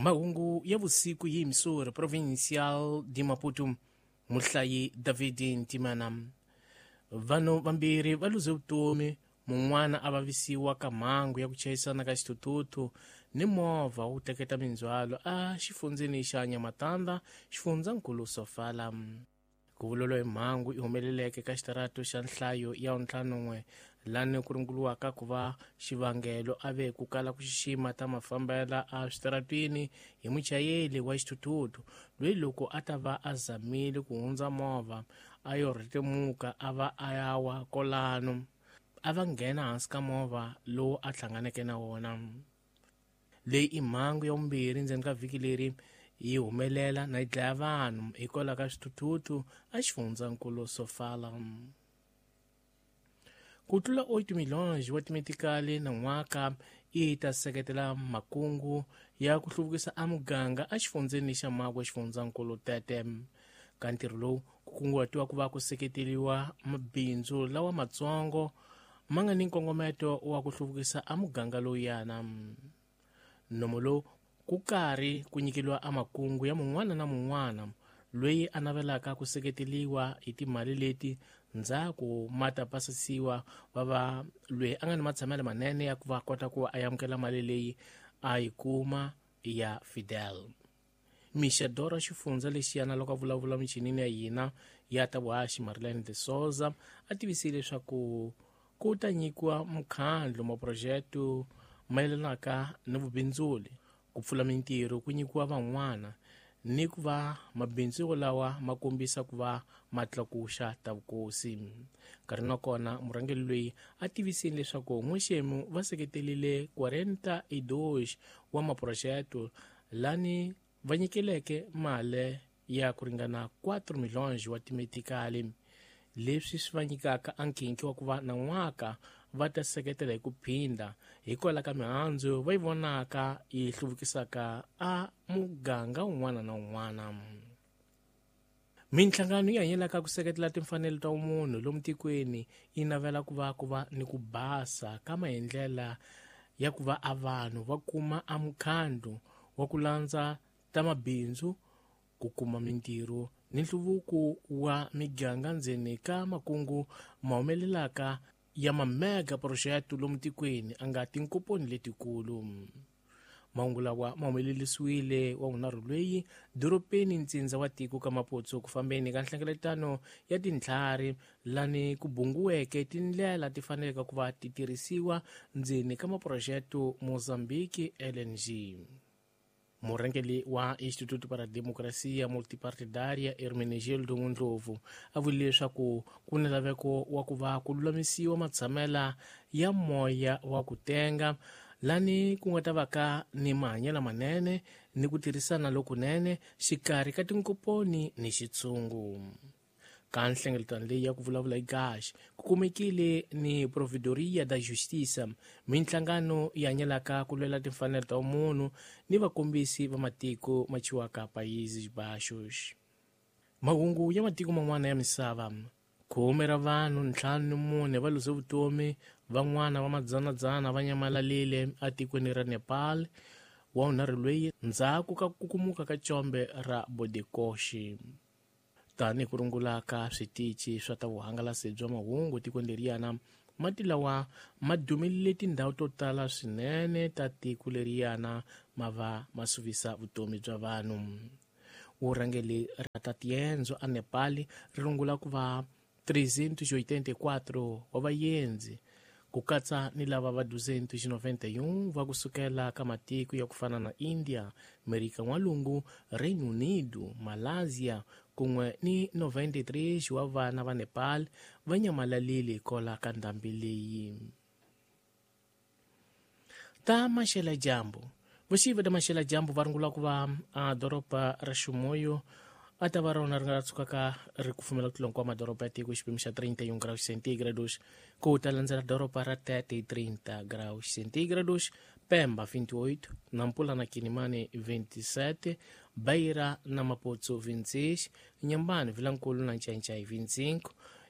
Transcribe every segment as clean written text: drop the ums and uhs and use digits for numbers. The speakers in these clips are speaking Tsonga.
Mahungu ya vusiku hi Missouri Provincial de Maputo, muhlayi David Ntimana. Vanhu vambirhi va luze vutomi, mun'wana a vavisiwa ka mhangu ya ku chayisana ka xithuthuthu ni movha wu teketa mindzhwalo a xifundzeni xa Nyamatanda, xifundzankulu Sofala. Ku vulolo hi mhangu yi humeleleke ka xitarato xa nhlayo ya 51 lani ku ringuluwaka ku va xivangelo a ve ku kala ku xixima ta mafambela a switaratwini hi muchayeri wa xithuthuthu loyi loko a ta va a zamile ku hundza movha a yo rhetemuka a va a ya wa kolano a va nghena hansi ka movha lowu a hlanganeke na wona. Leyi i mhangu ya vumbirhi ndzeni ka vhiki leri yi humelela na yi dlaya vanhu hikwalaho ka swithuthuthu a xifundzankulu Sofala. Ku tlula 8 milhonji wa timetikali na n'waka yi ta seketela makungu ya ku hluvukisa a muganga a xifundzeni xa Magwe xifundzankulu Tete. Ka ntirho lowu ku kunguhatiwa ku va ku seketeriwa mabindzu lawa matsongo ma nga ni nkongometo wa ku hluvukisa a muganga lowuyana. Nomo lowu ku karhi ku nyikeliwa a makungu ya mun'wana na mun'wana loyi a navelaka ku seketeliwa hi timali leti ndzhaku ma ta pasisiwa va va loyi a nga ni matshamelo manene ya ku va kota ku a amukela mali leyi a yi kuma ya Fidel. Mixadora xifundza lexiyana loko a vulavula michinini ya hina ya ta vuhaxi Marilene de Souza a tivisile leswaku ku ta nyikiwa mukhandlu maphurojete mayelanaka ni vubindzuli, ku pfula mintirho ku nyikiwa van'wana ni ku va mabindzu lawa ma kombisa ku va ma tlakuxa ta vukosi. Nkarhi na kona murhangeri loyi a tivisile leswaku n'wexemu va seketelile 42 wa maphurojete lani va nyikeleke mali ya ku ringana 4 milhonji wa timetikali, leswi swi va nyikaka a nkhinkhi wa ku va na n'waka va ta seketela hi ku phinda hikwalaho ka mihandzu va yi vonaka yi hluvukisaka a muganga wun'wana na wun'wana. Minhlangano yi hanyelaka ku seketela timfanelo ta munhu lomu tikweni yi navela ku va ni ku basa ka maendlela ya ku va a vanhu va kuma a mukhandlu wa ku landza ta mabindzu, ku kuma mintirho ni nhluvuko wa miganga ndzeni ka makungu ma humelelaka ya mamega project lomu tikweni a nga tinkoponi letikulu. Mahungu lawa ma humelerisiwile wa vunharhu loyi doropeni ntsindza wa tiko ka Maputo ku fambeni ka nhlengeletano ya tintlhari lani ku bunguweke tindlela ti faneleke ku va ti tirhisiwa ndzeni ka maphurojete Mozambique LNG. Murhangeri wa Instituto para Democracia Multipartidária Hermenegildo Ndlovu a vurile leswaku ku ni laveko wa ku va ku lulamisiwa matshamela ya moya wa ku tenga lani ku nga ta va ka ni mahanyelo manene ni ku tirhisana lokunene xikarhi ka tinkoponi ni xitshungu. Ka nhlengeletano leyi ya ku vulavula hi gash ku kumekile ni Provedoria da Justiça, minhlangano yi hanyelaka ku lwela timfanelo ta munhu ni vakombisi va matiko ma chiwaka Países Baixos. Mahungu ya matiko man'wana ya misava. Khume ra vanhu 54 va luze vutomi, van'wana va madzanadzana va nyamalalile atikweni ra Nepal wa vunharhu loyi ndzhaku ka ku kukumuka ka combe ra Bodekoshi. Tanihi ku rungula ka switichi swa ta vuhangalasi bya mahungu tikweni leriyana, mati lawa ma dumile tindhawu to tala swinene ta tiko leriyana ma va ma suvisa vutomi bya vanhu. Vurhangeri ra ta tiendzo a Nepal ri rungula ku va 384 wa vaendzi ku katsa ni lava va 291 va kusukela ka matiko ya ku fana na India, Amerika N'walungu, Reino Unido, Malaysia kun'we ni 93 wa vana va Nepal va nyamalalile hikwalaho ka ndhambi leyi. Ta maxela dyambu. Vuxivi ta maxela dyambu va rungula ku va a doroba ra Ximuyo a ta va rona ri nga tshukaka ri kufumela ku tlula hinkwawo madoroba ya tiko xipimo xa 31 graus centigrados, ku ta landzela doroba ra Tete 30 graus centigrados, Pemba 28, Nampula na Kinimani 27, Beira na Maputo 26, Nyambani, Vilankulu na Ncancai 25.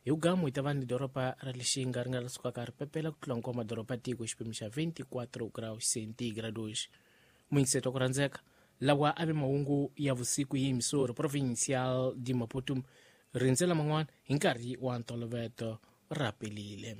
Hi ugamu hi ta va ni doroba ra Lixinga ri nga sukaka ri pepela ku tlula hinkwawo madoroba ya tiko xipimo xa 24 graus centigrados. Muyingiseti wa ku rhandzeka, Lawa a ve mahungu ya vusiku hi emissora provincial de Maputo. Rindzela man'wana hi nkarhi wa ntolovelo. Ra pelile.